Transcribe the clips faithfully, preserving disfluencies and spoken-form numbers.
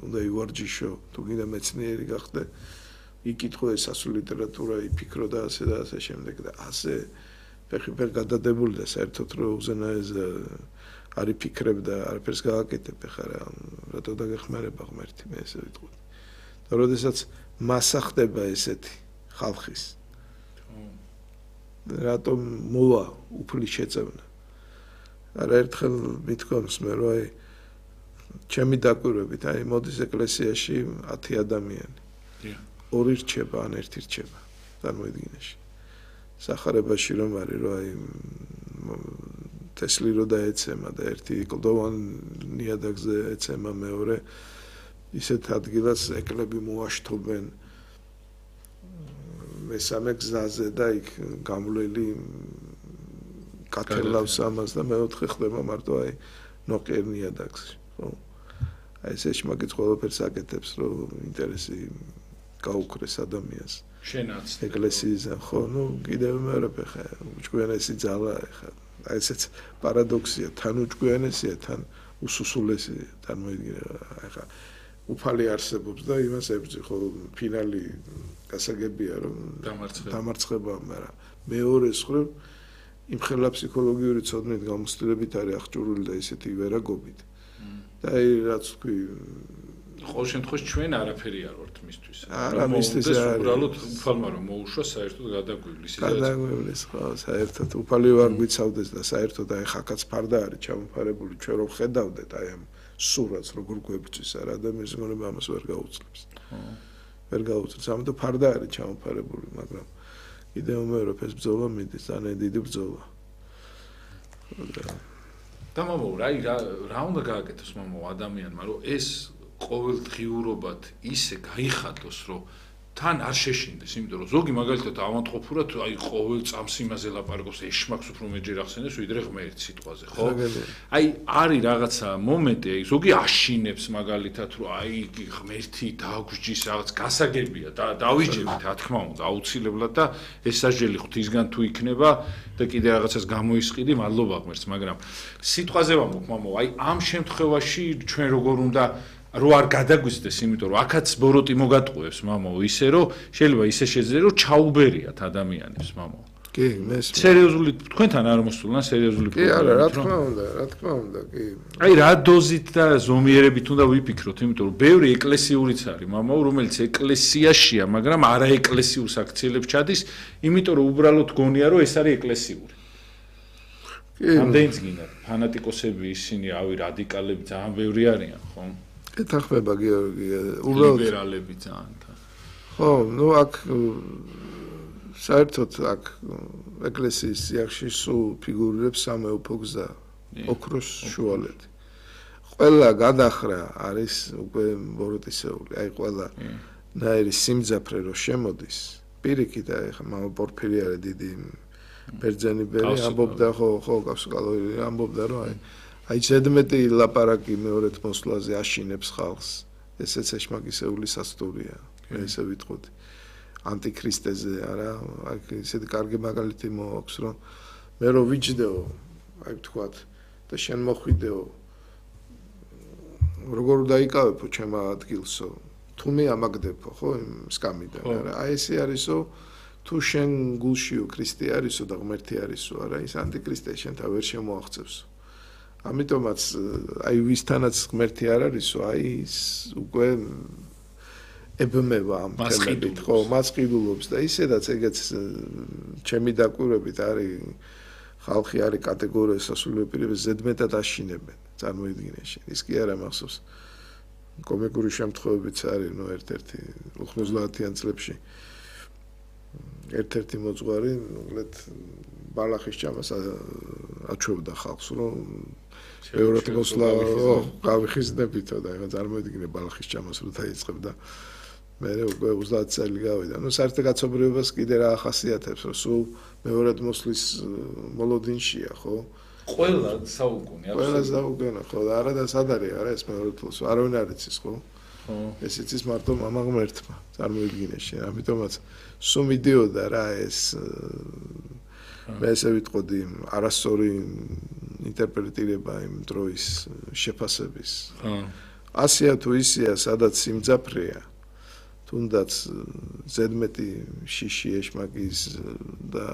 უნდა ივარჯიშო, თუ გინდა მეცნიერი გახდე, იკითხო ეს ასო ლიტერატურა, იფიქრო და ასე და ასე შემდეგ და ასე ფეხი-ფეხ გადადებული და საერთოდ რო უზენაეს არ იფიქრებ და არაფერს გააკეთებ ხარა, რატო დაგეხმარება ღმერთი, მე ესე ვიტყვი. და როდესაც მასა ხდება ესეთი ხალხის. რატომ მოვა უფლის შეწევნა? არა ერთხელ მithkoms მე რომ აი ჩემი დაკვირვებით, აი მოდის ეკლესიაში ათი ადამიანი. ორი რჩება, ან ერთი რჩება. წარმოიდგინეში. სახარებაში რომ არის, რომ აი თესლი რო დაეცემა და ერთი კლდოვან ნიადაგზე ეცემა მეორე, ისეთ ადგილას ეკლები მოაშთობენ მესამე გზაზე და იქ გამვლელი კათელავს ამას და მეოთხე ხდება მარტო აი ნოყიერ ნიადაგში, ხო? აი ეს ეშმაკიც ყველაფერს აკეთებს, რომ ინტერესი გაუქრეს ადამიანს. შენაც ეკლესიაზე, ხო, ნუ კიდევ მეორე ხა უჭკვიანესი ძალა ხა. აი ესეც პარადოქსია, თან უჭკვიანესია, თან უსუსულესია, წარმოიდგინე ხა. უფალი არსებობს და იმას ებრძი, ხო, ფინალი გასაგებია, რომ დამარცხება, მაგრამ მეორე მხრივ იმ ხელა ფსიქოლოგიური ცოდნით გამოსtildeებით არის აღჭურვილი და ისეთი ვერაგობით. და აი რაც თქვი ყოველ შემთხვევაში ჩვენ არაფერი არ ვართ მისთვის. არა, მისთვის არ არის. უბრალოდ უფალმა რომ მოუშვა საერთოდ გადაგვივლის. გადაგვივლის, ხო, საერთოდ უფალი ვარ გვიცავდეს და საერთოდ აი ხაკაც ფარდა არის ჩამოფარებული, ჩვენ რომ ხედავდეთ აი ამ სურათს როგორ გვებწვის არა ადამიანის მოგონება ამას ვერ გაუძლებს. ხო. ვერ გაუძლებს. ამიტომ ფარდა არის ჩამოფარებული, მაგრამ კიდევ უმეორებ ეს ბრძოლა მიდის, ძალიან დიდი ბრძოლა. და მამო, რა რა უნდა გააკეთოს მამო ადამიანმა, რომ ეს ყოველდღიურობად ისე გაიხადოს, რომ თან არ შეშინდეს, იმიტომ რომ ზოგი მაგალითად ავანტყოფურად აი ყოველ წამს იმაზე ლაპარაკობს, ეშმაკს უფრო მეჯერ ახსენებს, ვიდრე ღმერთს სიტყვაზე, ხო? აი არის რაღაცა მომენტი, აი ზოგი აშინებს მაგალითად, რომ აი ღმერთი დაგვჯის რაღაც გასაგებია და დავიჯერით, რა თქმა უნდა, აუცილებლად და ეს სასჯელი ღვთისგან თუ იქნება და კიდე რაღაცას გამოისყიდი, მადლობა ღმერთს, მაგრამ სიტყვაზე ვამბობ, მამო, აი ამ შემთხვევაში ჩვენ როგორ უნდა რო არ გადაგვიზდეს, იმიტომ რომ აქაც ბოროტი მოგატყუებს, მამო, ისე რომ შეიძლება ისე შეძლეს, რომ ჩაუბერიათ ადამიანებს, მამო. კი, მეს. სერიოზული თქვენთან არ მოსულან სერიოზული პრობლემა. კი, არა, რა თქმა უნდა, რა თქმა უნდა, კი. აი რა დოზით და ზომიერებით უნდა ვიფიქროთ, იმიტომ რომ ბევრი ეკლესიურიც არის, მამო, რომელიც ეკლესიაშია, მაგრამ არაეკლესიურ საქციელებს ჩადის, იმიტომ რომ უბრალოდ გონია, რომ ეს არის ეკლესიური. კი. ამდენიც გინდა, ფანატიკოსები ისინი, ავი რადიკალები ძალიან ბევრი არიან, ხო? ეთახმება გიორგი, უბრალოდ ლიბერალები ძალიან. ხო, ნუ აქ საერთოდ აქ ეკლესიის სიახში სულ ფიგურირებს სამეუფო გზა, ოქროს შუალედი. ყველა გადახრა არის უკვე ბოროტისეული, აი ყველა ნაირი სიმძაფრე რო შემოდის, პირიქით აი ხა მამა პორფირიარე დიდი ბერძენიბერი ამბობდა, ხო, ხო, გასკალოი ამბობდა, რომ აი აი ზედმეტი ლაპარაკი მეორედ მოსვლაზე აშინებს ხალხს. ესეც ეშმაკისეული სასტურია. მე ესე ვიტყოდი. ანტიქრისტეზე არა, აი ესეთი კარგი მაგალითი მოაქვს, რომ მე რო ვიჯდეო, აი ვთქვათ, და შენ მოხვიდეო. როგორ დაიკავებო ჩემ ადგილსო? თუ მე ამაგდებო, ხო, იმ სკამიდან, არა? აი ესე არისო, თუ შენ გულშიო ქრისტე არისო და ღმერთი არისო, არა, ის ანტიქრისტე შენთან ვერ შემოაღწევსო. ამიტომაც აი ვისთანაც ღმერთი არ არისო, აი ის უკვე ებმევა ამ თემებით, ხო, მასყიდულობს და ისედაც ეგეც ჩემი დაკვირვებით არის ხალხი არის კატეგორია სასულიერო პირები ზედმეტად აშინებენ, წარმოიდგინეში. ის კი არა მახსოვს. კომიკური შემთხვევებიც არის, ნუ ერთ-ერთი ութმოცდაათიან წლებში ერთ-ერთი მოძღვარი, ნუ ბალახის ჭამას აჩვევდა ხალხს, რომ ბევრად მოსლა, გავიხიზნებითო და ეხლა წარმოიდგინე ბალახის ჭამას რო დაიწყებ და მე უკვე ოცდაათი წელი გავიდა. ნუ საერთო კაცობრიობას კიდე რა ახასიათებს, რომ სულ მეორად მოსლის მოლოდინშია, ხო? ყველა საუკუნე, ყველა საუკუნე, ხო, და არა და სად არის, არა ეს მეორე თლოს, არავინ არ იცის, ხო? ხო. ეს იცის მარტო მამა ღმერთმა, წარმოიდგინეში, ამიტომაც სულ მიდიოდა რა ეს მე ესე ვიტყოდი არასწორი ინტერპრეტირება იმ დროის შეფასების. ასია თუ ისია, სადაც სიმძაფრეა, თუნდაც ზედმეტი შიში ეშმაკის და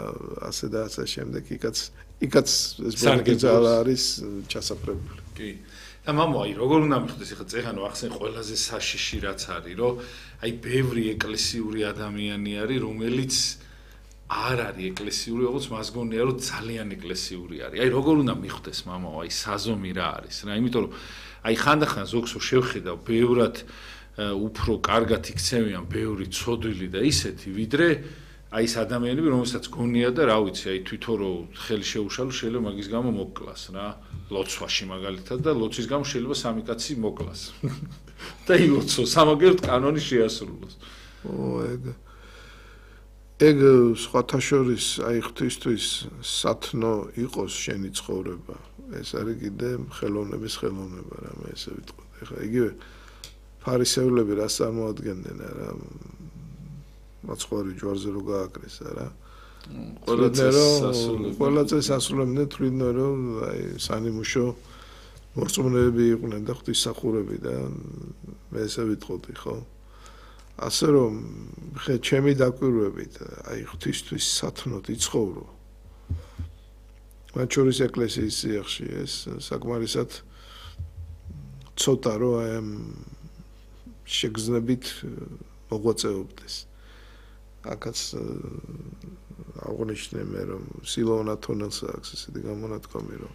ასე და ასე შემდეგ, იქაც იქაც ეს ბოლგეძალა არის ჩასაფრებული. კი. და მამო, აი როგორ უნდა მიხდეს ახლა წეღანო ახსენ ყველაზე საშიში რაც არის, რომ აი ბევრი ეკლესიური ადამიანი არის, რომელიც არ არის ეკლესიური, როგორც მას გონია, რომ ძალიან ეკლესიური არის. აი როგორ უნდა მიხდეს მამო, აი საზომი რა არის რა, იმიტომ რომ აი ხანდახან ზოგს შევხედავ ბევრად უფრო კარგად იქცევიან ბევრი ცოდვილი და ისეთი, ვიდრე აი ეს ადამიანები, რომელსაც გონია და რა ვიცი, აი თვითონ რო ხელი შეუშალო, შეიძლება მაგის გამო მოკლას რა, ლოცვაში მაგალითად და ლოცვის გამო შეიძლება სამი კაცი მოკლას. და ილოცო, სამაგერთ კანონი შეასრულოს. ო, ეგ ეგ სხვათა შორის აი ღვთისთვის სათნო იყოს შენი ცხოვრება. ეს არის კიდე ხელოვნების ხელოვნება რა, მე ესე ვიტყვი. ეხლა იგივე ფარისევლები რას წარმოადგენდნენ რა, მაცხვარი ჯვარზე რო გააკრეს რა. ყველა წესასრულები. ყველა წესასრულები თვლიდნენ რომ აი სანიმუშო მორწმუნეები იყვნენ და ღვთისმსახურები და მე ესე ვიტყოდი, ხო? ასე რომ ხე ჩემი დაკვირვებით აი ღვთისთვის სათნოდ იცხოვრო. მათ შორის ეკლესიის სიახში ეს საკმარისად ცოტა რო აი ამ შეგრძნებით მოღვაწეობდეს. აქაც აღნიშნე მე რომ სილოვან ათონელს აქვს ესეთი გამონათქვამი რომ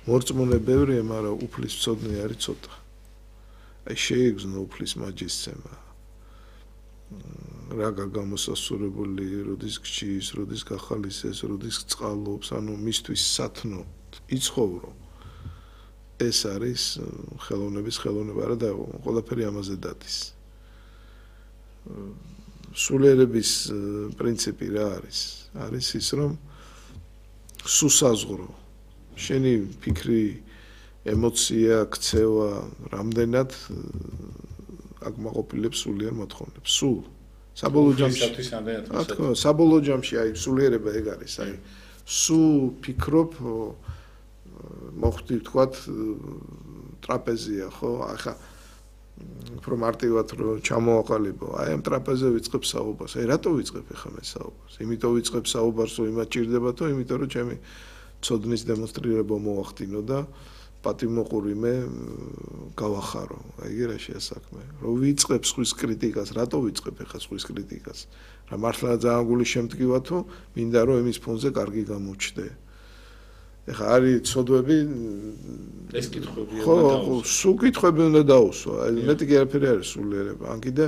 მორწმუნე ბევრია, მაგრამ უფლის მცოდნე არის ცოტა. აი შეიგრძნო უფლის მაჯისცემა. რაღა გამოსასურებელი, როდის გჭირს, როდის გახალისეს, როდის წყალობს, ანუ მისთვის სათნო იცხოვრო. ეს არის ხელოვნების ხელოვნება და ყველაფერი ამაზე დადის. სულიერების პრინციპი რა არის? არის ის რომ სუსაზღრო შენი ფიქრი, ემოცია, ქცევა, რამდენად აკმაყოფილებს სულიერ მოთხოვნებს. სულ საბოლოო ჯამში რა თქმა უნდა, საბოლოო ჯამში აი სულიერება ეგ არის, აი სულ ფიქრობ მოხდი ვთქვათ ტრაპეზია, ხო? ახლა უფრო მარტივად რომ ჩამოაყალიბო, აი ამ ტრაპეზე ვიწყებ საუბარს. აი რატო ვიწყებ ახლა მე საუბარს? იმიტომ ვიწყებ საუბარს, რომ იმათ ჭირდებათო, იმიტომ რომ ჩემი ცოდნის დემონსტრირება მოახდინო და პატიმოყური მე გავახარო. აი ეგ რა შეასაქმე. რომ ვიწყებ სხვის კრიტიკას, რატო ვიწყებ ახლა სხვის კრიტიკას? რა მართლა ძალიან გული შემტკივათო, მინდა რომ იმის ფონზე კარგი გამოჩნდე. ეხლა არის ცოდვები ეს კითხვები ხო, სულ კითხვები უნდა დაუსვა. აი მეტი კი არაფერი არის სულიერება. ან კიდე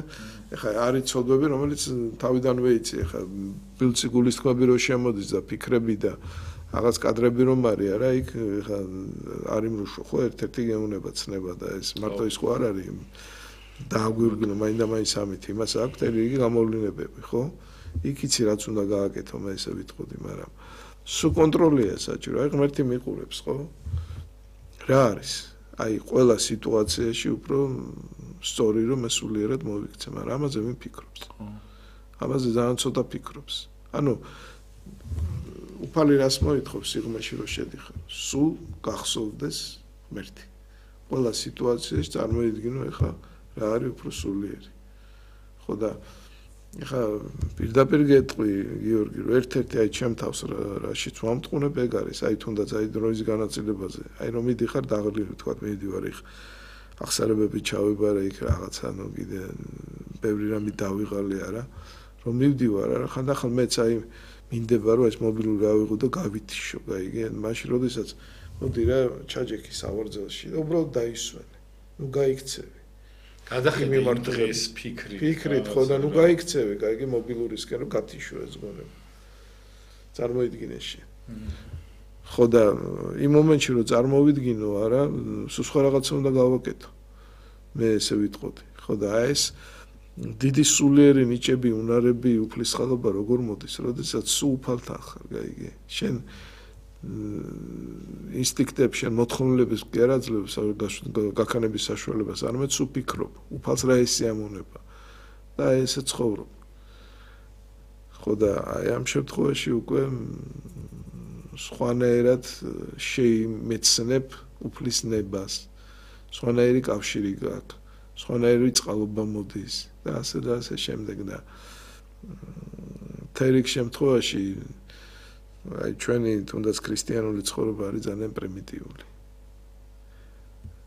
ეხლა არის ცოდვები, რომელიც თავიდანვე იცი, ეხლა ბილცი გულის თქმები რო შემოდის და ფიქრები და რაღაც კადრები რომ არის რა, იქ ეხლა არის მრუშო, ხო, ერთ-ერთი გეუნება ცნება და ეს მარტო ის ხო არ არის დააგვირგვინო მაინდა მაინც ამით იმას აქვს ერთი რიგი გამოვლინებები, ხო? იქ იცი რაც უნდა გააკეთო, მე ესე ვიტყოდი, მაგრამ სულ კონტროლია საჭირო. აი ღმერთი მიყურებს, ხო? რა არის? აი ყველა სიტუაციაში უფრო სწორი რომ ესულიერად მოვიქცე, მაგრამ ამაზე მე ფიქრობს. ხო. ამაზე ძალიან ცოტა ფიქრობს. ანუ უფალი რას მოითხოვს სიღრმეში რომ შედიხარ? სულ გახსოვდეს ღმერთი. ყველა სიტუაციაში წარმოიდგინო ეხა რა არის უფრო სულიერი. ხო და ეხა პირდაპირ გეტყვი გიორგი რომ ერთ-ერთი აი ჩემ თავს რაშიც ვამტყუნებ ეგ არის აი თუნდაც აი დროის განაწილებაზე აი რომ მიდიხარ დაღლილი თქვა მიდივარ იქ ახსარებები ჩავიბარე იქ რაღაც ანუ კიდე ბევრი რამე დავიღალე არა რომ მივდივარ არა ხანდახან მეც აი მინდება რომ ეს მობილური ავიღო და გავითიშო გაიგე მაშინ როდესაც მოდი რა ჩაჯექი სავარძელში და უბრალოდ დაისვენე ნუ გაიქცევი გადახედე იმ დღეს ფიქრი ფიქრით ხო და ნუ გაიქცევი გაიგე მობილურისკენ რომ გათიშო ეს გონება წარმოიდგინე შე ხო და იმ მომენტში რომ წარმოვიდგინო არა სულ სხვა რაღაცა უნდა გავაკეთო მე ესე ვიტყოდი ხო და ეს დიდი სულიერი ნიჭები უნარები უფლის ხალობა როგორ მოდის როდესაც სულ უფალთან ხარ გაიგე შენ ინსტინქტებს შენ მოთხოვნილების კი არ აძლევს გაქანების საშუალებას არამედ სულ ფიქრობ უფალს რა ესიამონება და ესე ცხოვრობ ხო და აი ამ შემთხვევაში უკვე სხვანაირად შეიმეცნებ უფლის ნებას სხვანაირი კავშირი გაქვს, სხვანაირი წყალობა მოდის და ასე და ასე შემდეგ და თერიქ შემთხვევაში აი ჩვენი თუნდაც ქრისტიანული ცხოვრება არის ძალიან პრიმიტიული.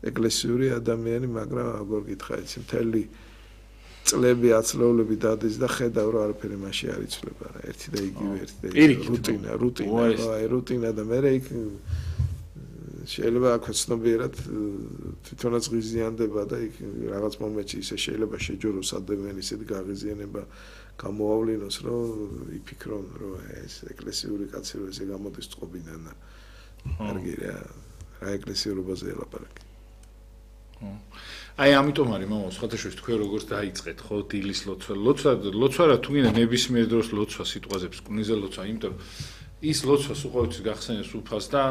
ეკლესიური ადამიანი, მაგრამ აგორ გითხრა იცი მთელი წლები აცლეულები დადის და ხედავ რომ არაფერი მასში არ იცვლება რა ერთი და იგივე ერთი და რუტინა რუტინა აი რუტინა და მე იქ შეიძლება აქ ცნობიერად თვითონაც ღიზიანდება და იქ რაღაც მომენტში ისე შეიძლება შეჯოროს ადამიანი ისეთი გაღიზიანება გამოავლინოს რომ იფიქრონ რომ ეს ეკლესიური კაცი რო ესე გამოდის წყობიდან და კარგი რა რა ეკლესიურობაზე ელაპარაკი აი ამიტომ არის მამა სხვათაშორის თქვენ როგორც დაიწყეთ ხო დილის ლოცვა ლოცვა ლოცვა რა თუ გინდა ნებისმიერ დროს ლოცვა სიტყვაზებს კუნიზე ლოცვა იმიტომ ის ლოცვა უყურებს გახსენებს უფალს და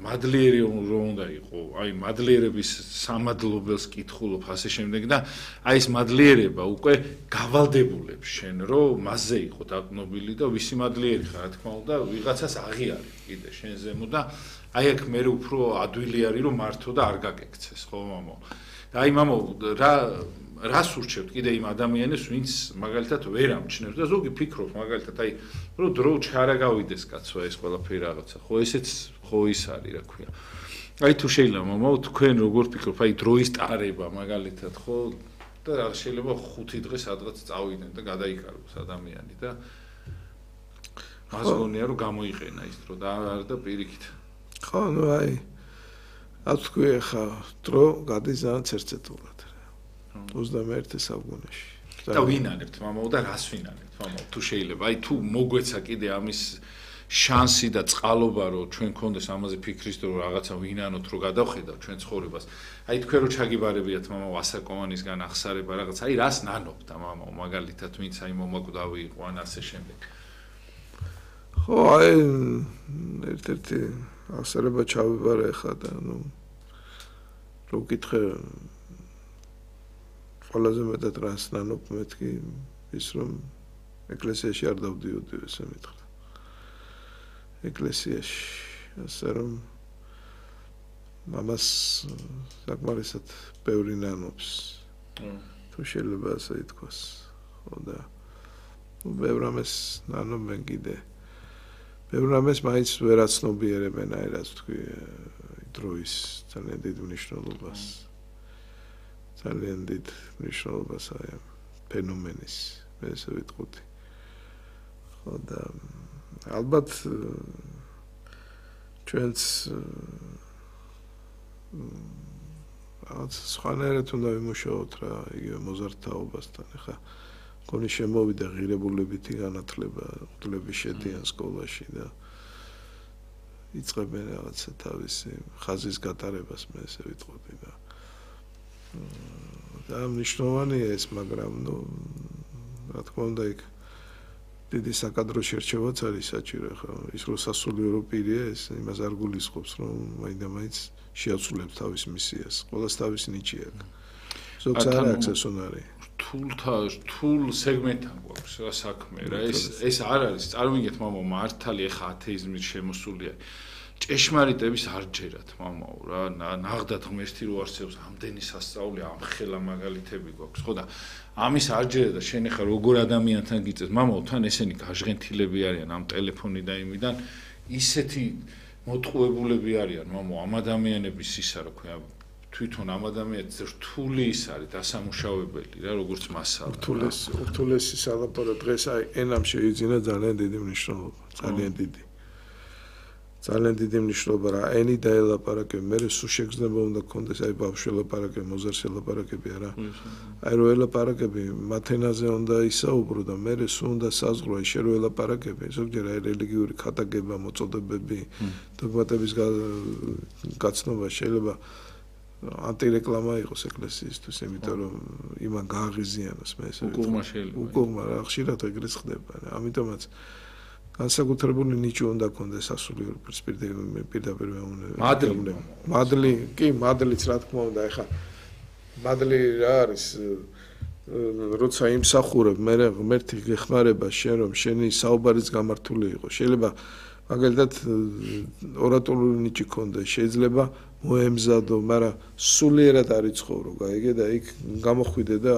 მადლიერი რომ უნდა იყო აი მადლიერების სამადლობელს კითხულობ ასე შემდეგ და აი ეს მადლიერება უკვე გავალდებულებს შენ რომ მასზე იყო დაკნობილი და ვისი მადლიერი ხარ რა თქმა უნდა ვიღაცას აღიარი კიდე შენ ზემო და აი აქ მე უფრო ადვილი არის რომ მართო და არ გაგექცეს ხო მამო და აი მამო რა რას ურჩევთ კიდე იმ ადამიანებს ვინც მაგალითად ვერ ამჩნევს და ზოგი ფიქრობს მაგალითად აი რომ დრო ჩარა გავიდეს კაცო ეს ყველაფერი რაღაცა ხო ესეც ხო ის არის რა ქვია აი თუ შეიძლება მამო თქვენ როგორ ფიქრობთ აი დროის ტარება მაგალითად ხო და რა შეიძლება ხუთი დღე სადღაც წავიდნენ და გადაიკარგოს ადამიანი და მას გონია რომ გამოიყენა ის დრო და არ და პირიქით ხო ნუ აი აქ თქვი ხა დრო გადის ძალიან ცერცეტულად ოცდამეერთე საუკუნეში. და ვინანებთ მამაო და რას ვინანებთ მამაო თუ შეიძლება აი თუ მოგვეცა კიდე ამის შანსი და წყალობა რომ ჩვენ გქონდეს ამაზე ფიქრის და რომ რაღაცა ვინანოთ რომ გადავხედავ ჩვენ ცხოვრებას. აი თქვენ რო ჩაგიბარებიათ მამაო ასაკოვანისგან ახსარება რაღაც აი რას ნანობთ მამაო მაგალითად ვინც აი მომაკვდავი იყო ან ასე შემდეგ. ხო აი ერთ-ერთი ახსარება ჩავიბარე ხა და ნუ რო გითხე ყველაზე მეტად რას ნანობ მეთქი ის რომ ეკლესიაში არ დავდიოდი ესე მითხრა ეკლესიაში ასე რომ მამას საკმარისად ბევრი ნანობს თუ შეიძლება ასე ითქვას ხო და ბევრ ამას ნანობენ კიდე ბევრ ამას მაინც ვერ აცნობიერებენ აი რაც თქვი დროის ძალიან დიდ მნიშვნელობას ძალიან დიდ მნიშვნელობას აი ფენომენის მე ესე ვიტყოდი ხო და ალბათ ჩვენც რაღაც სხვანაირად უნდა ვიმუშაოთ რა იგივე მოზარდთაობასთან ეხა მგონი შემოვიდა ღირებულებითი განათლება ღვთლები შედიან სკოლაში და იწყებენ რაღაცა თავისი ხაზის გატარებას მე ესე ვიტყოდი და და მნიშვნელოვანია ეს მაგრამ ნუ რა თქმა უნდა იქ დიდი საკადრო შერჩევაც არის საჭირო ხო ის რო სასულიერო პირია ეს იმას არ გულისხმობს რომ მაინდა-მაინც შეაცვლებს თავის მისიას ყოველს თავის ნიჭი აქვს ზოგს არ აქვს ეს უნარი თულთა თულ სეგმენტთან გვაქვს რა საქმე რა ეს ეს არ არის წარმოგიდგეთ მამო მართალი ეხა ათეიზმის შემოსულია ჭეშმარიტების არ ჯერათ მამაო რა ნაღდათ ღმერთი რო არსებობს ამდენი სასწაული ამ ხელა მაგალითები გვაქვს ხო და ამის არ ჯერა და შენ ეხა როგორ ადამიანთან გიწევს მამაო თან ესენი გაჟღენთილები არიან ამ ტელეფონი და იმიდან ისეთი მოტყუებულები არიან მამაო ამ ადამიანების ისა რა ქვია თვითონ ამ ადამიანის რთული ის არის დასამუშავებელი რა როგორც მასალა რთულეს რთულესი სალაპარო დღეს აი ენამ შეიძინა ძალიან დიდი მნიშვნელობა ძალიან დიდი ძალიან დიდი მნიშვნელობა რა ენი დაელაპარაკე მე სულ შეგრძნება უნდა გქონდეს აი ბავშვი ელაპარაკე მოზარდს ელაპარაკები არა აი რო ელაპარაკები მათენაზე უნდა ისაუბრო და მე სულ უნდა საზღვრო აი შე რო ელაპარაკები ზოგჯერ აი რელიგიური ქადაგება მოწოდებები დოგმატების გაცნობა შეიძლება ანტირეკლამა იყოს ეკლესიისთვის იმიტომ რომ იმან გააღიზიანოს მე ესე უკუღმა შეიძლება უკუღმა რა ხშირად ეგრეც ხდება ამიტომაც განსაკუთრებული ნიჭი უნდა გქონდეს სასულიერო პირდაპირ მადლი მადლი კი მადლიც რა თქმა უნდა ეხა მადლი რა არის როცა იმსახურებ მე ღმერთი გეხმარება შენ რომ შენი საუბარიც გამართული იყო შეიძლება მაგალითად ორატორული ნიჭი ქონდა, შეიძლება მოემზადო, მაგრამ სულიერად არ იცხოვრო, გაიგე და იქ გამოხვიდე და